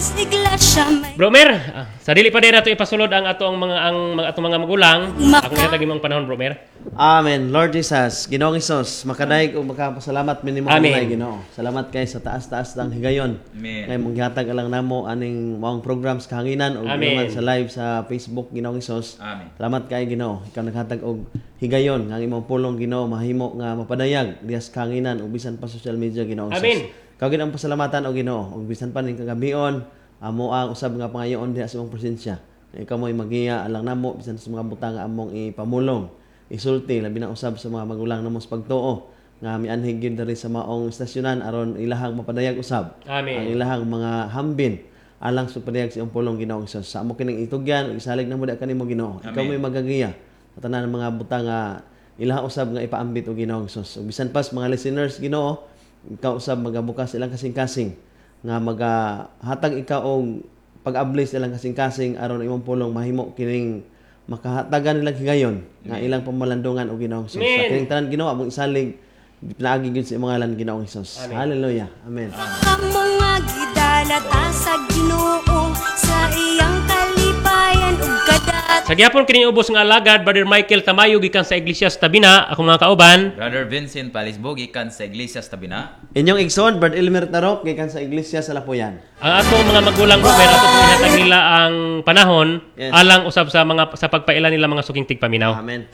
Iglesia may Bro Mer, sa dili pa din nato ipasulod ang atong mga magulang. Akong ihatag imong panahon, Bro Mer. Amen. Lord Jesus, Ginoong Hesus, makadayeg ug makapasalamat mi nimo Amen. kanunay, Ginoo. Salamat kay sa taas-taas ng higayon. Amen. Ngay mong gihatag alang namo aning maong program sa kahanginan ug Amen. naman sa live sa Facebook, Ginoong Hesus. Amen. Salamat kay, Ginoo. Ikaw naghatag og higayon nga ang imong pulong, Ginoo, mahimo nga mapadayag diha sa kahanginan ug bisan pa social media, Ginoong Hesus. Amen. Ikaw gid ang pasalamatan, o Ginoo, ug bisan pa ning kagabion amo ang usab nga pangayoon diha sa imong presensya. Ikaw mo'y magiya alang namo bisan sa mga butang nga among ipamulong, isulti, labi na usab sa mga magulang namo sa pagtuo nga mianhig gyud diri sa maong istasyonan aron ilahang mapadayag usab Amen. ang ilahang mga hambin alang sa padayag sa iyong pulong, Ginoong Hesus. Sa amo kining itugyan ug isalig namo diha kanimo, Ginoo. Ikaw Amen. mo'y magagiya sa tanan ng mga butang nga ilaha usab nga ipaambit og Ginoong Hesus. Ug bisan pas mga listeners, Ginoo, ikaw usab magabukas ilang kasing-kasing nga magahatag ikaw og pag-abli sa ilang kasing-kasing aron imong pulong mahimo kining makahatagan nilang higayon nga ilang pamalandungan og Ginoong Hesus. Sa Amen. kining tanan, Ginoo, among isalig pinaagi gyud sa imong ngalan, Ginoong Hesus. Hallelujah. Amen. Kamo nga gidalata sa Ginoo sa iyang kalipayan ug kadat. Sa gihapon kining ubos nga alagad, Brother Michael Tamayo gikan sa Iglesia sa Tabina, akong mga kauban. Brother Vincent Palisbo gikan sa Iglesia sa Tabina. Inyong igsoon, Brad Elmer Tarok, gikan sa Iglesia sa Lapuyan. Ang atong mga magulang, Bro Mer, ato pong ihatag nila ang panahon alang usab sa mga sa pagpaila nila mga suking tigpaminaw. Amen.